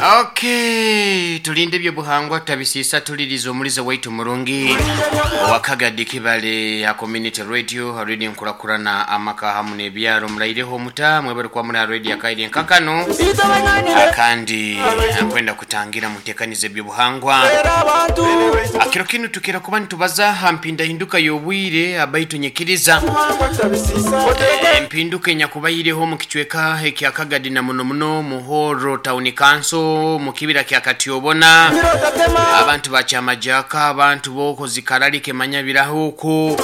Okay, tulinde ebyobuhangwa tutabisiisa tuliriza omulizo waitu murungi owakagadi kibale ya community radio, radio nkurakurana amaka hamu n'ebyaro. Muraireho omuta mwebale kuba muri aha radio akaire nkakano, kandi nkwenda kutangira mutekanize ebyobuhangwa. Akiro kinu tukira kuba nitubaza ha mpindahinduka y'obwire, abaitu nyikiriza empinduka enyakubaireho omu kicweka ekya Kagadi na muno muno Muhoro Town Council mu kibira kya Katyobona. Abantu ba Kyamajaka, abantu b'okwo Zikaralike Manyabiraho okwo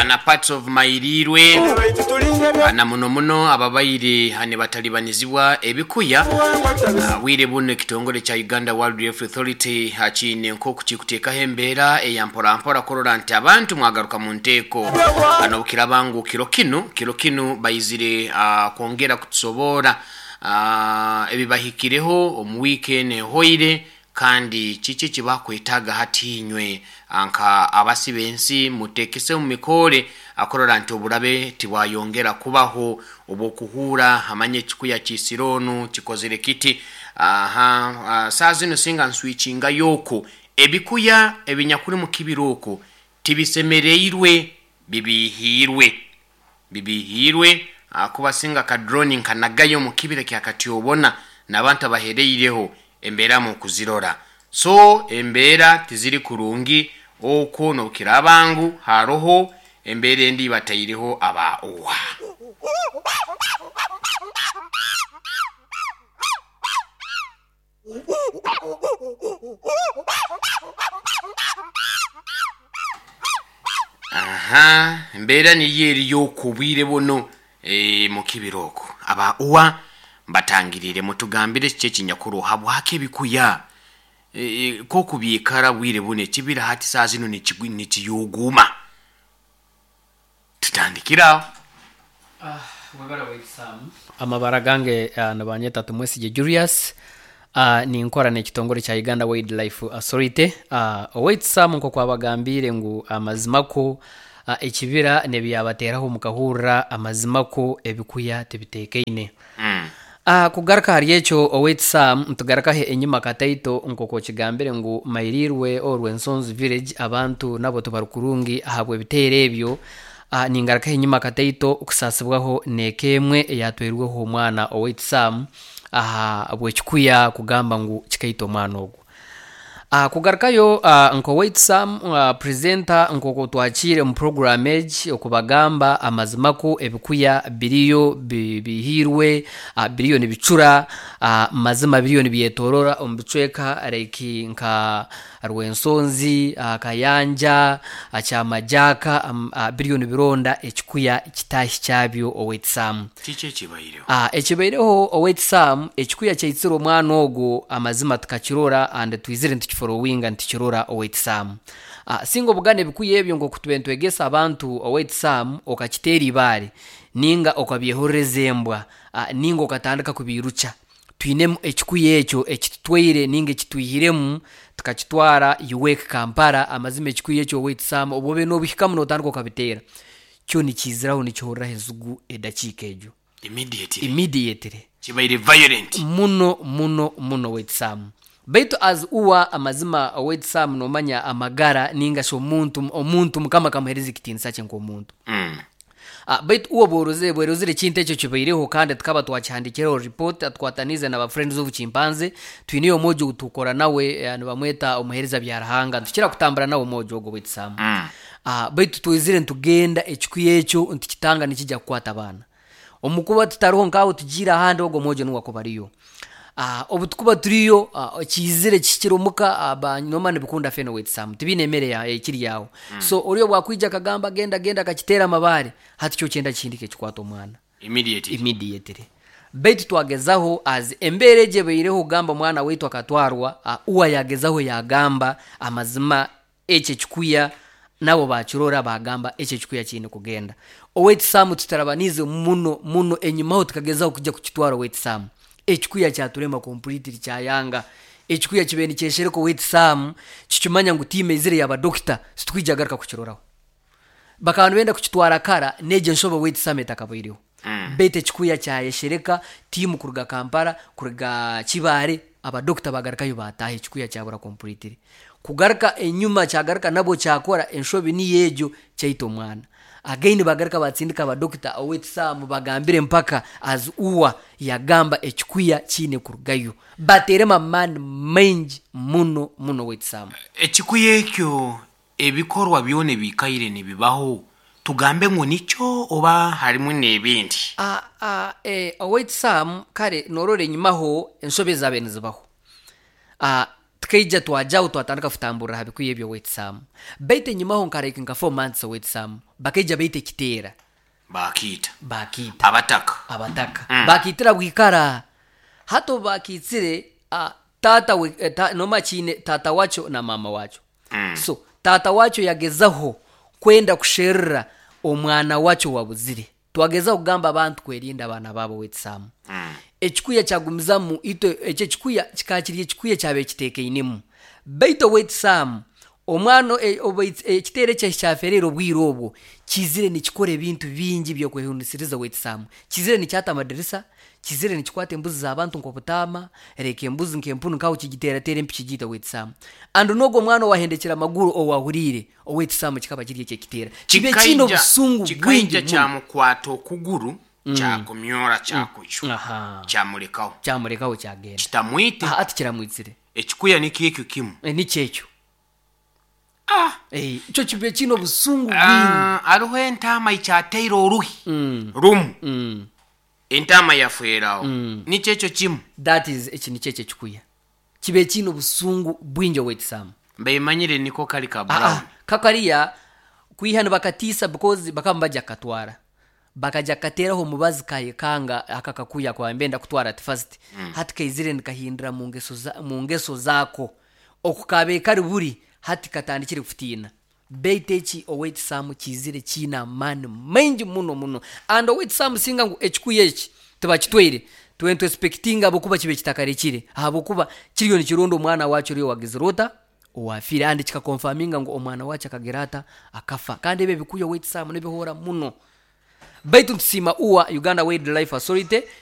na parts of Mairirwe, na muno muno ababaire nibatalibanizibwa ebikuya. Bwire buno ekitongore kya Uganda Wildlife Authority kiine nk'oku kikuteekaho embeera eya mpora mpora kurora nti abantu mwagaruka mu nteeko. N'obukiraaba ngu kiro kinu baizire kwongera kutusoboora ebibahikireho omu wiiki eno ehoire, kandi kiki ekibakwetaaga hati inywe nka abasi b'ensi muteekese omu mikoore akurora nti oburabe tibwayongera kubaho obw'okuhuura amanye ekikuya kiisire onu kikozere kiti. Aha saa zinu singa nswikingayo oku ebikuya ebinyakuli mu kibira oku tibisemereirwe, bibihiirwe, bibihiirwe, kuba singa ka drone nkanagayo omu kibira kya Katyobona n'abantu abahereireho embeera mukuzirora, so embeera tiziri kurungi okwo n'obukiraaba ngu haroho embeera endi bataireho aba owa. Aha embeera niyo eriyo okwo obwire buno mu kibira okwo aba uwa mbatangirire mutugambire kiki ekinyakuru habwaki ebikuya kokubyikara bwire buno ekibira hati saa zinu nikiyuguuma. Tutandikire aho. Webale waitu. Amabara gange nibanyeta Tumwesigye Julius, ninkora n'ekitongore kya Uganda Wildlife Authority. Owaitu Sam, nk'oku abagambiire ngu amazima ko ekibira n'ebyabateeraho mukahurra, amazima ko ebikuya tibiteekaine. Kugaruka ahari ekyo owaitu Sam, nitugarukaho enyima kataito nk'oku okigambire ngu Mairirwe Orwensonzi village abantu nabo tibari kurungi ahabw'ebiteero ebyo. Ningarukaho enyima kataito kusaasibwaho n'eka emwe eyatwairweho omwana owaitu Sam ahabw'ekikuya kugamba ngu kikaita omwana ogwo. Kugarukayo nk'owaitu Sam presenter, nk'oku twakiire omu program egi okubagamba amazima ku ebikuya biriyo bihiirwe, biriyo nibicura, mazima biriyo nibyetorora omu bicweka like nka Rwensonzi, Kayanja, Kyamajaka, biriyo nibironda ekikuya kitaahi kyabyo owaitu Sam. Kiki ekibaireho? Ekibaireho owaitu Sam, ekikuya kyaitsire omwana ogwo, amazima tukakirora and twizire nitukiforowinga nitukirora owaitu Sam. Singa obugana ebikuya ebyo nk'oku tube nitwegesa abantu owaitu Sam, okakiteera ibaare ninga okabyehorereza embwa ninga okatandika kubiirukya, twinemu ekikuya ekyo ekitutwaire ninga ekitwihiremu tukakitwara UWEC Kampala. Amazima ekikuya ekyo owaitu Sam, obu obaire nobihikamu notandika okabiteera, kyo nikiiziraho nikihoreraho enzigu edakiika egyo. Immediately. Immediately. Kibaire violent. Muno muno muno owaitu Sam. Baitu as uwa amazima owaitu Sam, nomanya amagara ninga shi omuntu, omuntu Mukama akamuhereza ekitiinisa kye nk'omuntu. Baitu uwe bworozire bwerozire ekintu ekyo kibaireho kandi tukaba twakihandikireho report tukwataniize na ba Friends of Chimpanzee. Twineyo omwojo ou tukora nawe, nibamweta omuhereza Byaruhanga, nitukira kutambura nawe omwojo ogwo owaitu Sam. Baitu twizire nitugenda ekikuya ekyo nitukitanga nikija kukwata abaana. Omu kuba tutariho nk'aho tugiire ahandi ogwo omwojo niwe akuba ariyo. Obu tukuba turiyo kiizire kihikire omuka, noomanya nibikunda fene owaitu Sam, tibiine emere ekiri aho. So oriya obu akwija akagamba genda genda akakiteera amabaare, hati kyo kyenda kihindike kikwate omwana. Immediately. Immediately. Baitu twagezaho as embeera egi ebaireho kugamba omwana waitu akatwarwa, uwe yagezaho yagamba amazima ekyo ekikuya nabo bakirora bagamba ekyo ekikuya kiine kugenda. Owaitu Sam, tutarabaniize muno muno enyimaho tukagezaho kujya kukitwara owaitu Sam. Ekikuya kyaturema completely kyayanga. Ekikuya kibaire nikyeshereka owaitu Sam, kikimanya ngu tiimu eizire yaba dokita titukwija garuka kukiroraho. Bakaba nibenda kukitwara kara n'egyo enshobe owaitu Sam etakabaireho. Baitu ekikuya kyayeshereka. Tiimu kuruga Kampala, kuruga Kibaare, abadokita bagarukayo, bataaha, ekikuya kyabura completely. Kugaruka enyuma kyagaruka, nabwo kyakora enshobi niyo egyo, kyaita omwana again. Bagaruka batsindika abadokita, owetisaamu bagambire mpaka as uwa yagamba ekikuya kiine kurugayo, bateremu amaani maingi muno muno, owetisaamu. Ekikuya ekyo, ebikorwa byona ebikaire nibibaho, tugambe ngu nikyo oba harimu n'ebindi? Owetisaamu, kare norora enyimaho enshobe zabe nizibaho. Tukaija twajaho, twatandika kutamburira ha bikuya ebyo, owetisaamu. Baitu enyimaho nka like nka 4 months, owetisaamu, bakaija baita ekiteera. Bakiita? Bakiita. Abataka? Abataka. Bakiitira bwikara. Hati obu bakiitsire, tata we, noma kiine tata wakyo na mama wakyo. So tata wakyo yagezaho kwenda kusherura omwana wakyo wabuzire. Twagezaho kugamba abantu kwerinda abaana baabo, wetisaamu. Ekikuya kyagumizamu itwe, ekyo ekikuya kikaba kiri ekikuya kyabaire kiteekainemu. Baitu owetisaamu, omwana ekiteera ekyo ekyafereire, obwire obwo kizire nikikora ebintu bingi byokwehunisiriza, owetisaamu. Kizire nikyata amadirisa, kizire nikikwata embuzi z'abantu nk'obutaama, reka embuzi nk'empunu nkaho kigiteerateera empi, kigiita, owetisaamu. And n'ogwo omwana owahendekera amaguru, owahuriire, owetisaamu, kikaba kiri ekyo ekiteera kibe kiine obusungu bwingi Kikaija muno. Kyamukwata okuguru, kyakumyora, kyakucwa, kyamulekaho. Kyamulekaho, kyagenda. Kitamwite? Aha, ati kiramwitsire. Ekikuya nikyo ekyo kimu? Eh, nikyo ekyo. Ah. Eh, kyo kibe kiine obusungu bwingi. Ah, hariho entaama ikyateire oruhi rumu, entaama yafweraho. Nikyo ekyo kimu? That is, eki nikyo ekyo ekikuya kibe kiine obusungu bwingi, owetisaamu. Mbemanyire niko kali ka Ah, brown. ah, kakariya kwiha nibakatiisa because bakaba bajja kukatwara, bakajya kukateraho omubazi, kayekanga aka kakuya kwambenda kutwara at first. Hati kaizire nikahindura mu ngeso zaako okukabe kari buri, hati katandikire kutiina. Baitu eki, owetisaamu, kizire kiine amaani maingi muno muno. And owetisaamu, singa ngu ekikuya eki tibakitwaire, twe expectinga ahabwokuba kibe kitakarekire, ahabwokuba kiriyo nikironda omwana wakyo oriyo wagizire ota, owafiire, and kikaconfirminga ngu omwana wakyo akagira ata, akafa. Kandi ebyo ebikuya, owetisaamu, nibihora muno. Baitu ntusiima uwa Uganda Wildlife Authority.